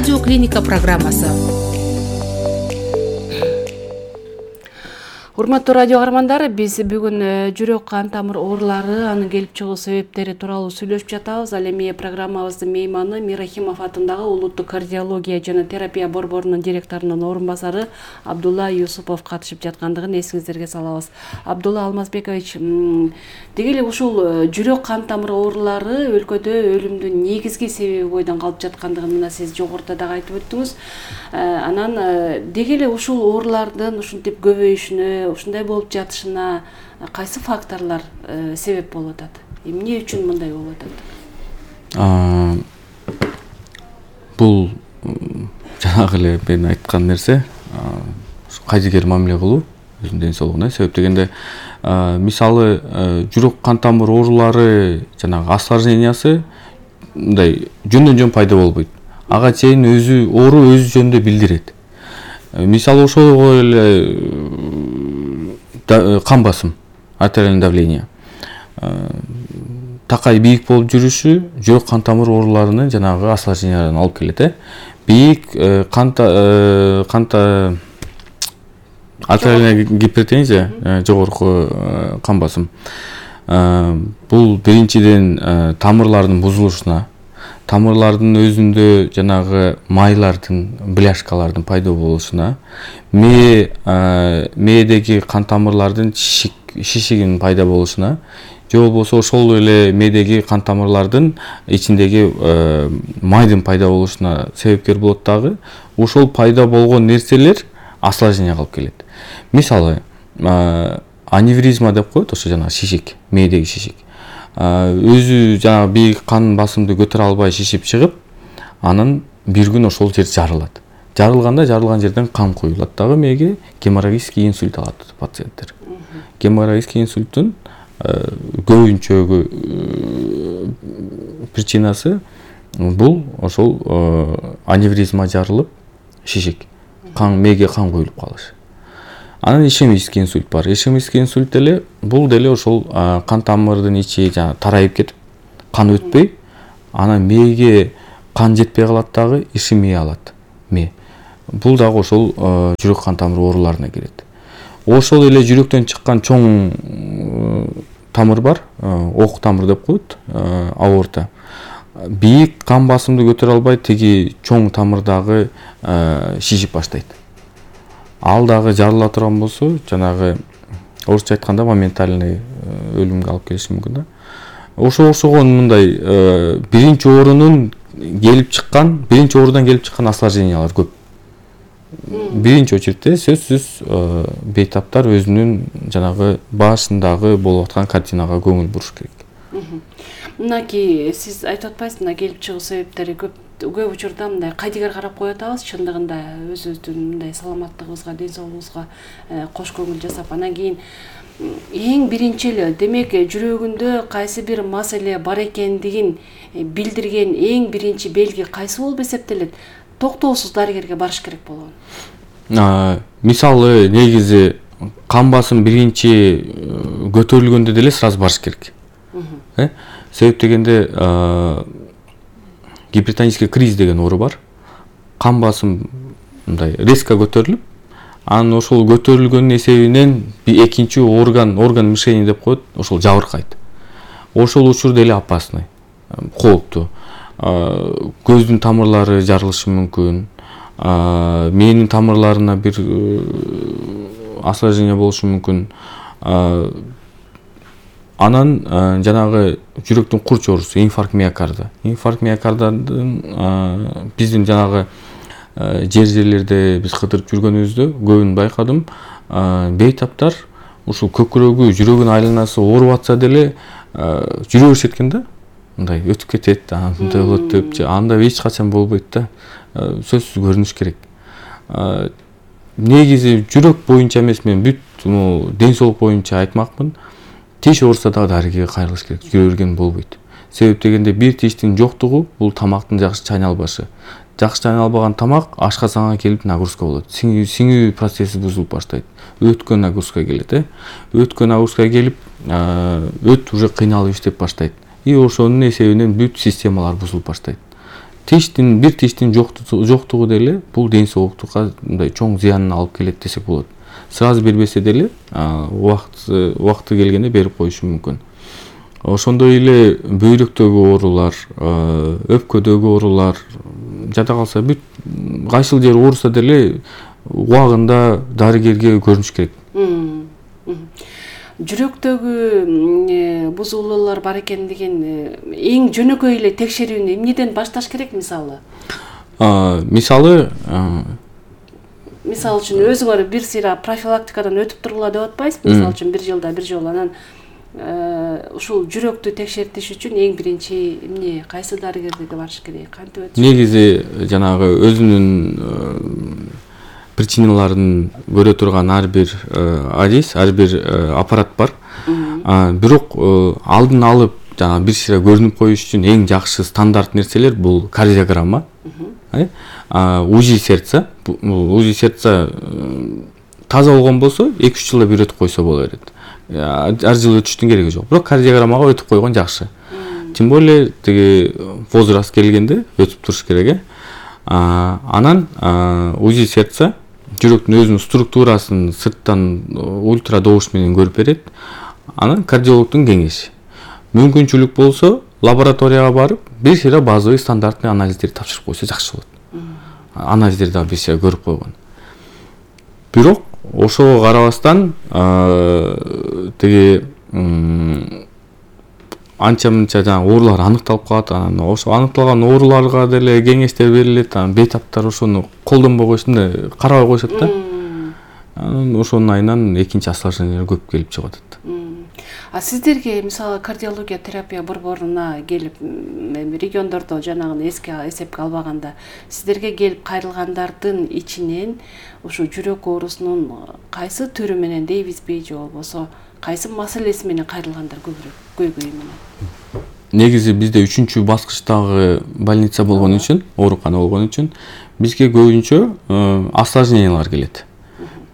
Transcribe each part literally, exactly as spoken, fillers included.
Радио Клиника программасы. Урматтуу радио каармандары, биз бүгүн жүрөк кан тамыр оорулары, анын келип чыгуу себептери тууралуу сүйлөшүп жатабыз. Ал эми программабыздын мейманы Мирахимов атындагы Улуттук кардиология жана терапия борборунун директорунун орун басары Абдулла Юсупов катышып жаткандыгын эсиңиздерге салабыз. Абдулла Алмазбекович, деги эле ушул жүрөк кан тамыр оорулары өлкөдө өлүмдүн негизги себеби бойдон калып жаткандыгын мына сиз жогоруда дагы айтып өттүңүз. Анан деги эле ушул оорулардын ушинтип көбөйүшүнө, ушундай болуп жатышына кайсы факторлор э, себеп болуп атат? Эмне үчүн мындай болуп атат? Бул жанагы эле мен айткан нерсе, кайдыгер мамиле кылуу өзүнүн ден соолугуна. Себеп дегенде, мисалы жүрөк кан тамыр оорулары жанагы осложнениясы мындай жөндөн жөн пайда болбойт. Ага чейин өзү оору өз жөнүндө билдирет. Мисалы ошого эле кан басым, артериальное давление, такай бийик болуп жүрүшү жүрөк кан тамыр ооруларынын жанагы осложнениясына алып келет. Бийик канта канта артериальная гипертензия, жогорку кан басым. Бул биринчиден тамырлардын бузулушуна, тамырлардын өзүндө жанагы майлардын, бляшкалардын пайда болушуна, мээ мээдеги кан тамырлардын шишик шишигинин пайда болушуна, же болбосо ошол эле мээдеги кан тамырлардын ичиндеги майдын пайда болушуна себепкер болот дагы. Ошол пайда болгон нерселер осложнение кылып келет. Мисалы, аневризма деп коет, ошо жанагы шишик, мээдеги шишик. Өзү жанагы бийик кан басымды көтөрө албай шишип чыгып, анан бир күн ошол жер жарылат. Жарылганда жарылган жерден кан куюлат дагы мээге, геморрагический инсульт алат пациенттер. Геморрагический инсульттун көбүнчөгү причинасы бул ошол аневризма жарылып, шишик, кан мээге кан куюлуп калыш. Анан ишемический инсульт бар. Ишемический инсульт деле бул деле ошол кан тамырдын ичи жана тарайып кетип, кан өтпөй, анан мээге кан жетпей калат дагы, ишемия алат мээ. Бул дагы ошол жүрөк кан тамыр ооруларына кирет. Ошол эле жүрөктөн чыккан чоң тамыр бар, ок тамыр деп коет, аорта. Бийик кан басымды көтөрө албай, тиги чоң тамыр дагы шишип баштайт. Ал дагы жарыла турган болсо, жанагы орусча айтканда моментальный өлүмгө алып келиши мүмкүн да. Ошо ошого мындай биринчи оорунун келип чыккан, биринчи оорудан келип чыккан осложнениялар көп. Биринчи очередте сөзсүз бейтаптар өзүнүн жанагы башындагы болуп аткан картинага көңүл буруш керек. Мынаки сиз айтып атпайсыз, мына келип чыгуу себептери көп көп учурда мындай кайдыгер карап коюп атабыз, чындыгында өзүбүздүн мындай саламаттыгыбызга, ден соолугубузга кош көңүл жасап, анан кийин эң биринчи эле демек жүрөгүндө кайсы бир маселе бар экендигин билдирген эң биринчи белги кайсы болуп эсептелет? Токтоосуз дарыгерге барыш керек болгон. Мисалы, негизи кан басым биринчи көтөрүлгөндө деле сразу барыш керек. Себеп дегенде гипертонический криз деген оору бар. Кан басым мындай резко көтөрүлүп, анан ошол көтөрүлгөнүн эсебинен экинчи орган, орган мишени деп коет, ошол жабыркайт. Ошол учурда эле опасный, кооптуу. Көздүн тамырлары жарылышы мүмкүн, мээнин тамырларына бир осложнение болушу мүмкүн. Анан жанагы жүрөктүн курч оорусу, инфаркт миокарда. Инфаркт миокардадын биздин жанагы жер жерлерде биз кыдырып жүргөнүбүздө көбүн байкадым. Бейтаптар ушул көкүрөгү, жүрөгүнүн айланасы ооруп атса деле жүрө беришет экен да. Мындай өтүп кетет, мындай болот деп, анда эч качан болбойт да. Сөзсүз көрүнүш керек. Негизи жүрөк боюнча эмес, мен бүт ден соолук боюнча айтмакмын. Тиш ооруса дагы дарыгерге кайрылыш керек, жүрө берген болбойт. Себеп дегенде бир тиштин жоктугу бул тамактын жакшы чайналбашы. Жакшы чайналбаган тамак ашказанга келип нагрузка болот. Сиңүү процесси бузулуп баштайт. Өткөн нагрузка келет, өткөн нагрузка келип, өт уже кыйналып иштеп баштайт. И ошонун эсебинен бүт системалар бузулуп баштайт. тиштин бир тиштин жоктугу деле бул ден соолуктукка мындай чоң зыянын алып келет десек болот. Сразу бербесе деле убакыт убакыты келгенде берип коюшу мүмкүн. Ошондой эле бөйрөктөгү оорулар, өпкөдөгү оорулар, жада калса бүт кайсыл жери ооруса деле убагында дарыгерге көрүнүш керек. Жүрөктөгү бузулуулар бар экендигин эң жөнөкөй эле текшерүүнү эмнеден башташ керек мисалы? Мисалы Мисалы үчүн өзүңөр бир сыйра профилактикадан өтүп тургула деп атпайсызбы? Мисалы үчүн бир жылда бир жолу анан ушул жүрөктү текшертиш үчүн эң биринчи эмне, кайсы дарыгерге барыш керек, кантип өтүш? Негизи жанагы өзүнүн причиналарын көрө турган ар бир адис, ар бир аппарат бар. Бирок алдын алып жана бир сыйра көрүнүп коюш үчүн эң жакшы стандарт нерселер бул кардиограмма, УЗИ сердца. УЗИ сердца таза болгон болсо эки үч жылда бир өтүп койсо боло берет. Ар жылы өтүштүн кереги жок. Бирок кардиограммага өтүп койгон жакшы. Тем более тиги возраст келгенде өтүп туруш керек. Анан УЗИ сердца жүрөктүн өзүнүн структурасын сырттан ультрадобуш менен көрүп берет. Анан кардиологдун кеңеши. Мүмкүнчүлүк болсо лабораторияга барып, бир сыйра базовый стандартный анализдерди тапшырып койсо жакшы болот. Анализдерди дагы бир сыйра көрүп койгон. Бирок ошого карабастан тиги анча мынча жана оорулар аныкталып калат. Анан ошо аныкталган ооруларга деле кеңештер берилет. Анан бейтаптар ошону колдонбой коюшунда карабай коюшат да. Анан ошонун айынан экинчи осложнениялар көп келип чыгып атат. А сиздерге мисалы кардиология терапия борборуна келип региондордо жанагыны эске эсепке албаганда сиздерге келип кайрылгандардын ичинен ушу жүрөк оорусунун кайсы түрү менен дейбизби же болбосо кайсы маселеси менен кайрылгандар көбүрөөк көйгөй менен? Негизи бизде үчүнчү баскычтагы больница болгон үчүн, оорукана болгон үчүн бизге көбүнчө осложнениялар келет.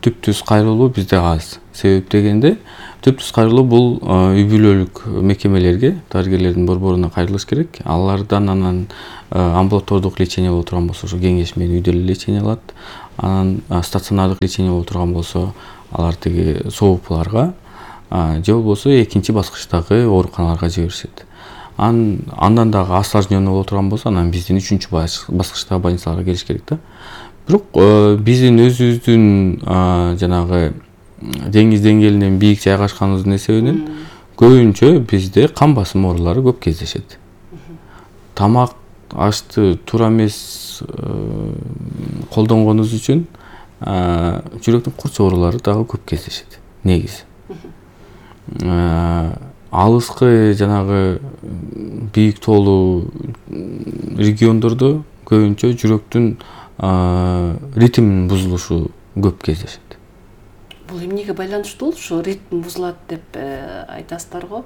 Түп-түз кайрылуу бизде аз. Себеп дегенде түп-түз кайрылуу бул үй бүлөлүк мекемелерге, дарыгерлердин борборуна кайрылыш керек. Алардан анан амбулатордук лечение боло турган болсо, ошо кеңеш менен үйдө эле лечение алат. Анан стационардык лечение боло турган болсо, алар тиги соопуларга же болбосо экинчи баскычтагы ооруканаларга жиберишет. Андан дагы осложненный боло турган болсо, анан биздин үчүнчү баскычтагы больницаларга келиш керек да. Бирок биздин өзүбүздүн жанагы деңиз деңгээлинен бийик жайгашканыбыздын эсебинен көбүнчө бизде кан басым оорулары көп кездешет. Тамак ашты туура эмес колдонгонубуз үчүн жүрөктүн курч оорулары дагы көп кездешет. Негизи алыскы жанагы бийик тоолуу региондордо көбүнчө жүрөктүн ритминин бузулушу көп кездешет. Бул эмнеге байланыштуу ушу ритм бузулат деп айтасыздар го?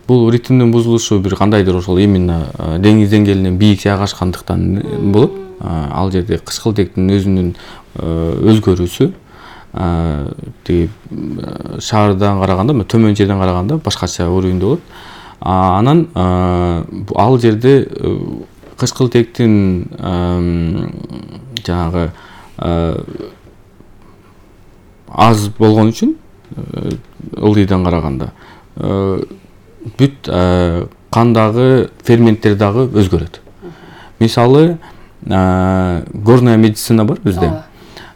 Бул ритмдин бузулушу бир кандайдыр ошол именно деңиз деңгээлинен бийик жайгашкандыктан болот. Ал жерде кычкылтектин өзүнүн өзгөрүүсү тиги шаардан караганда, төмөн жерден караганда башкача уровеньде болот. Анан ал жерде кычкылтектин жанагы аз болгон үчүн ылдыйдан караганда бүт кандагы ферменттер дагы өзгөрөт. Мисалы горная медицина бар бизде.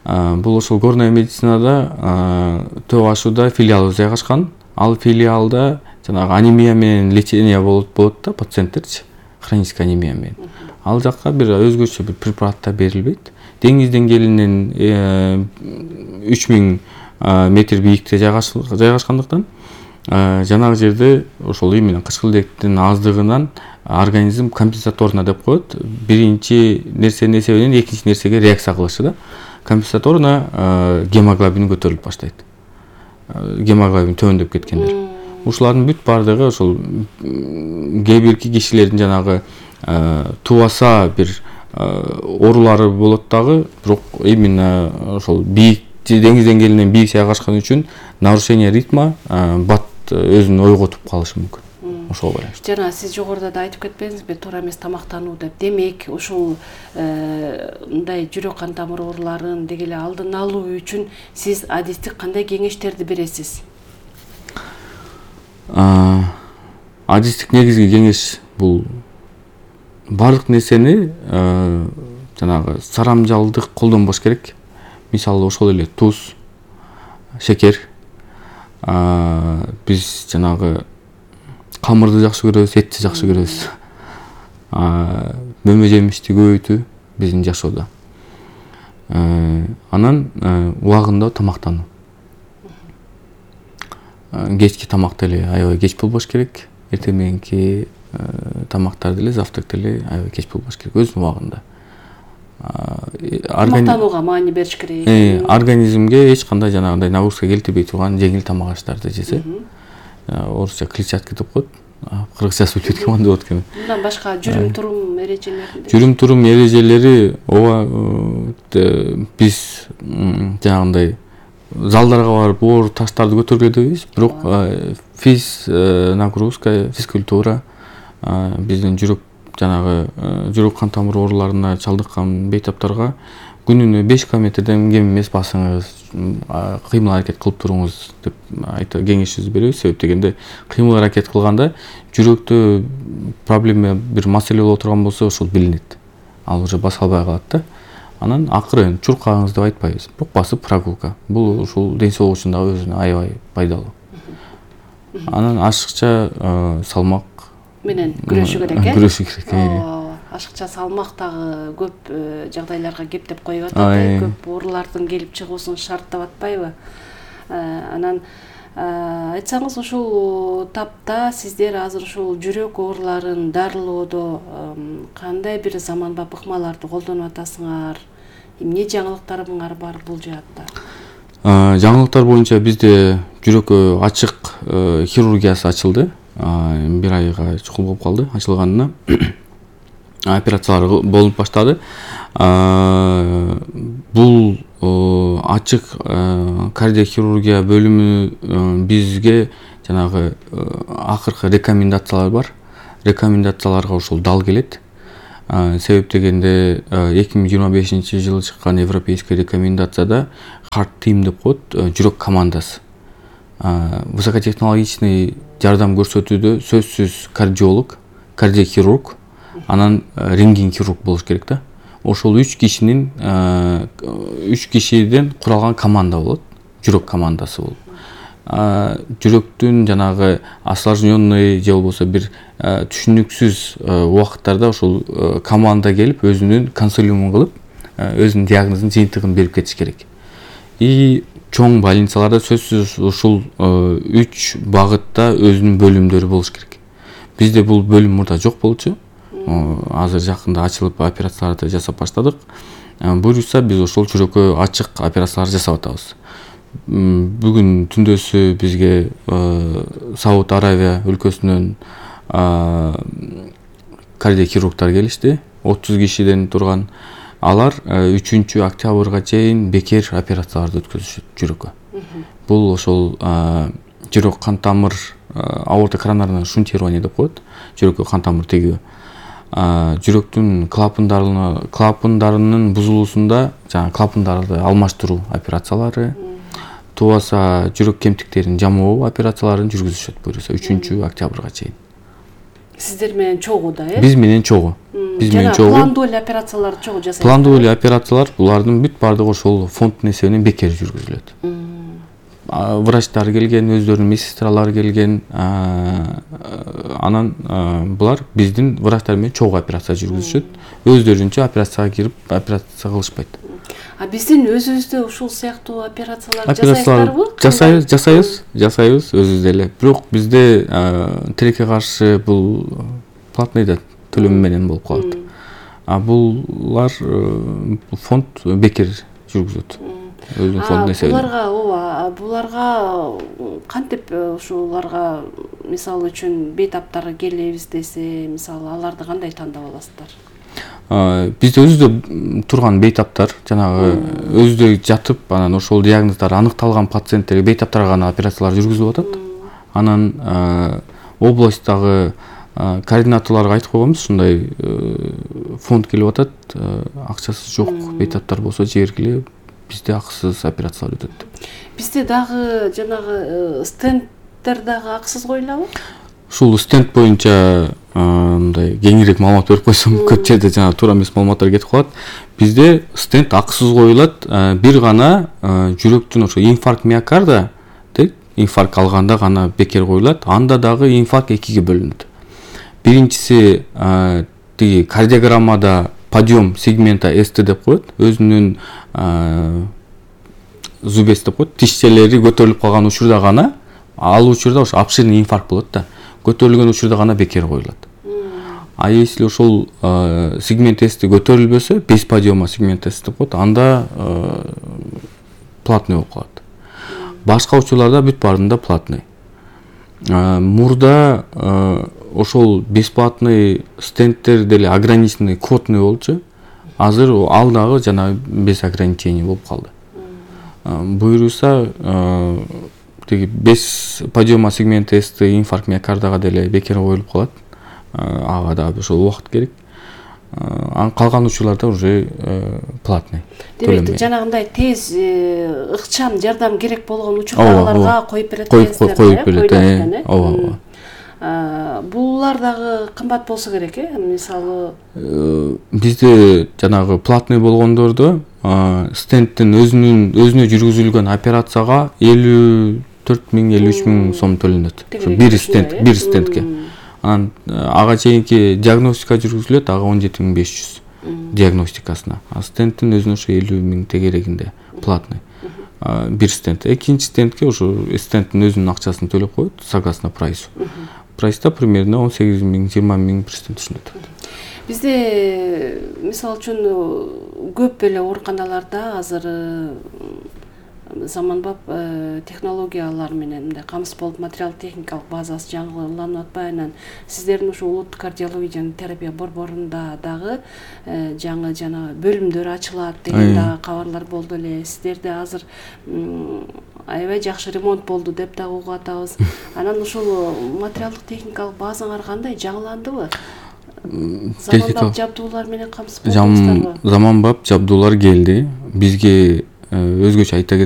Бул ошол горная медицинада Төө Ашууда филиалы жайгашкан. Ал филиалда жанагы анемия менен лечение болот болот да, пациенттерчи, хроническая анемия менен. Ал жакка бир өзгөчө бир препараттар берилбейт. Деңиз деңгээлинен үч миң метр бийикте жайгашкандыктан жанагы жерде ошол именно кычкылтектин аздыгынан организм компенсаторно деп коет. Биринчи нерсенин эсебинен экинчи нерсеге реакция кылышы да. Компенсаторно гемоглобин көтөрүлүп баштайт. Гемоглобин төмөндөп кеткендер. Ушулардын бүт бардыгы ошол кээ бирки кишилердин жанагы тубаса бир оорулары болот дагы, бирок именно ошол бийик деңиз деңгээлинен бийик жайгашкан үчүн нарушение ритма бат өзүн ойготуп калышы мүмкүн. ошого байланыштуу. Жана сиз жогоруда да айтып кетпедиңизби, туура эмес тамактануу деп. Демек, ушул мындай жүрөк кан тамыр ооруларын деги эле алдын алуу үчүн сиз адистик кандай кеңештерди бересиз? Адистик негизги кеңеш бул баардык нерсени жанагы сарамжалдык колдонбош керек. Мисалы ошол эле туз, шекер. Биз жанагы камырды жакшы көрөбүз, этти жакшы көрөбүз. Мөмө жемишти көбөйтүү биздин жашоодо. Анан убагында тамактануу. Кечки тамак деле аябай кеч болбош керек. Эртең мененки тамактар деле, завтрак деле аябай кеч болбош керек, өзүнүн убагында. Тамактанууга маани бериш керек. Организмге эч кандай жанагындай нагрузка келтирбей турган жеңил тамак аштарды жесе. Орусча клетчатка деп коет. Кыргызчасы билбейт экен, кандай болот экен. Мындан башка жүрүм турум эрежелери. Жүрүм турум эрежелери ооба биз жанагындай залдарга барып оор таштарды көтөргөдөбүз, бирок физ нагрузка, физкультура биздин жүрөк жанагы жүрөк кан тамыр ооруларына чалдыккан бейтаптарга күнүнө беш километрден кем эмес басыңыз, кыймыл аракет кылып туруңуз деп айта кеңешибизди беребиз. Себеп дегенде кыймыл аракет кылганда жүрөктө проблема бир маселе боло турган болсо ошол билинет. Ал уже баса албай калат да. Анан акырын чуркаңыз деп айтпайбыз, бирок басып прогулка. Бул ушул ден соолук үчүн дагы өзүнө аябай пайдалуу. Анан ашыкча салмак менен күрөшүү керек э? Күрөшүү керек. Ашыкча салмак дагы көп жагдайларга кептеп коюп атат, көп оорулардын келип чыгуусун шарттап атпайбы? Анан айтсаңыз, ушул тапта сиздер азыр ушул жүрөк ооруларын дарылоодо кандай бир заманбап ыкмаларды колдонуп атасыңар? Эмне жаңылыктарыңар бар бул жаатта? Жаңылыктар боюнча бизде жүрөккө ачык хирургиясы ачылды. Бир айга чукул болуп калды ачылганына. Операциялар болуп баштады. Бул ачык кардиохирургия бөлүмү бизге жанагы акыркы рекомендациялар бар. Рекомендацияларга ошол дал келет. Себеп дегенде эки миң жыйырма бешинчи жылы чыккан европейский рекомендацияда харт тим деп коет, жүрөк командасы. Высокотехнологичный жардам көрсөтүүдө сөзсүз кардиолог, кардиохирург, анан рентген хирург болуш керек да. Ошол үч кишинин үч кишиден куралган команда болот, жүрөк командасы болуп. Жүрөктүн жанагы осложненный же болбосо бир түшүнүксүз убакыттарда ошол команда келип өзүнүн консилиумун кылып, өзүнүн диагнозун, жыйынтыгын берип кетиш керек. И чоң больницаларда сөзсүз ушул үч багытта өзүнүн бөлүмдөрү болуш керек. Бизде бул бөлүм мурда жок болчу. Азыр жакында ачылып операцияларды жасап баштадык. Буюрса биз ошол жүрөккө ачык операциялар жасап атабыз. Бүгүн түндөсү бизге Сауд Аравия өлкөсүнөн кардиохирургтар келишти. отуз кишиден турган. Алар үчүнчү октябрга чейин бекер операцияларды өткөзүшөт жүрөккө. Бул ошол жүрөк кан тамыр аорта коронарное шунтирование деп коет. Жүрөккө кан тамыр тегүү. Жүрөктүн клапандарына клапандарынын бузулуусунда жана клапандарды алмаштыруу операциялары, тубаса жүрөк кемтиктерин жамоо операцияларын жүргүзүшөт буюрса үчүнчү октябрга чейин. Сиздер менен чогуу да, э? Биз менен чогуу. Биз менен чогуу. Пландуу эле операциялар чогуу жасайсыздар. Пландуу эле операциялар булардын бүт бардыгы ошол фонд эсебинен бекер жүргүзүлөт. Врачтар келген, өздөрүнүн медсестралары келген, анан булар биздин врачтар менен чогуу операция жүргүзүшөт. Өздөрүнчө операцияга кирип операция кылышпайт. А биздин өзүбүздө ушул сыяктуу операциялар жасайсыздарбы? Жасайбыз, жасайбыз, жасайбыз өзүбүз деле. Бирок бизде тилекке каршы бул платный да төлөм менен болуп калат. А булар фонд бекер жүргүзөт. Өзүнүн фонд эсебинен. Буларга, ооба, буларга кантип ушуларга мисалы үчүн бейтаптар келебиз десе, мисалы аларды кандай тандап аласыздар? Бизде өзүдө турган бейтаптар, жанагы өзүдө жатып, анан ошол диагноздар аныкталган пациенттерге бейтаптарга гана операциялар жүргүзүлүп атат. Анан областтагы координаторлорго айтып койгонбуз, ушундай фонд келип атат, акчасы жок бейтаптар болсо жибергиле, бизде акысыз операциялар өтөт деп. Бизде дагы жанагы стенддер дагы акысыз коюлабы? Ушул стенд боюнча мындай кеңирээк маалымат берип койсом, көп жерде жана туура эмес маалыматтар кетип калат. Бизде стенд акысыз коюлат, бир гана жүрөктүн ошо инфаркт миокарда, дейт, инфаркт алганда гана бекер коюлат. Анда дагы инфаркт экиге бөлүнөт. Биринчиси тиги кардиограммада подъем сегмента эс тэ деп коет, өзүнүн зубец деп коет, тишчелери көтөрүлүп калган учурда гана, ал учурда ошо обширный инфаркт болот да. Көтөрүлгөн учурда гана бекер коюлат. А если ошол сегмент эсти көтөрүлбөсө, без подъема сегмент эс деп коет, анда платный болуп калат. Башка учурларда бүт баарында платный. Мурда ошол бесплатный стендтер деле ограниченный квотный болчу. Азыр ал дагы жана без ограничений болуп калды. Буюрса, тиги без подъема сегмент эсти инфаркт миокардага деле бекер коюлуп калат. Ага да ошол убакыт керек. Ан калган учурларда уже платный. Демек, жанагындай тез ыкчам жардам керек болгон учурларга коюп берет экенсиздер. Коюп берет. Ооба. Булар дагы кымбат болсо керек, э? Мисалы, бизде жанагы платный болгондордо стендтин өзүнүн өзүнө жүргүзүлгөн операцияга элүү төрт миң элүү үч миң сом төлөнөт. Бир стенд, бир стендке. Анан ага чейинки диагностика жүргүзүлөт, ага он жети миң беш жүз диагностикасына. А стендтин өзүнө ошо элүү миң тегерегинде платный. Бир стенд. Экинчи стендке ошо стендтин өзүнүн акчасын төлөп коет, согласно прайсу. Прайста примерно он сегиз миң жыйырма миң бир стенд түшүнөт. Бизде мисалы үчүн көп эле ооруканаларда азыр заманбап технологиялар менен мындай камсыз болуп материал техникалык базасы жаңыланып атпайбы? Анан сиздердин ушу улуттук кардиология жана терапия борборунда дагы жаңы жана бөлүмдөр ачылат деген дагы кабарлар болду эле. Сиздерде азыр аябай жакшы ремонт болду деп дагы угуп атабыз. Анан ушул материалдык техникалык базаңар кандай, жаңыландыбы? Заманбап жабдуулар менен камсыз болдуңуздарбы? Заманбап жабдуулар келди. Бизге өзгөчө айта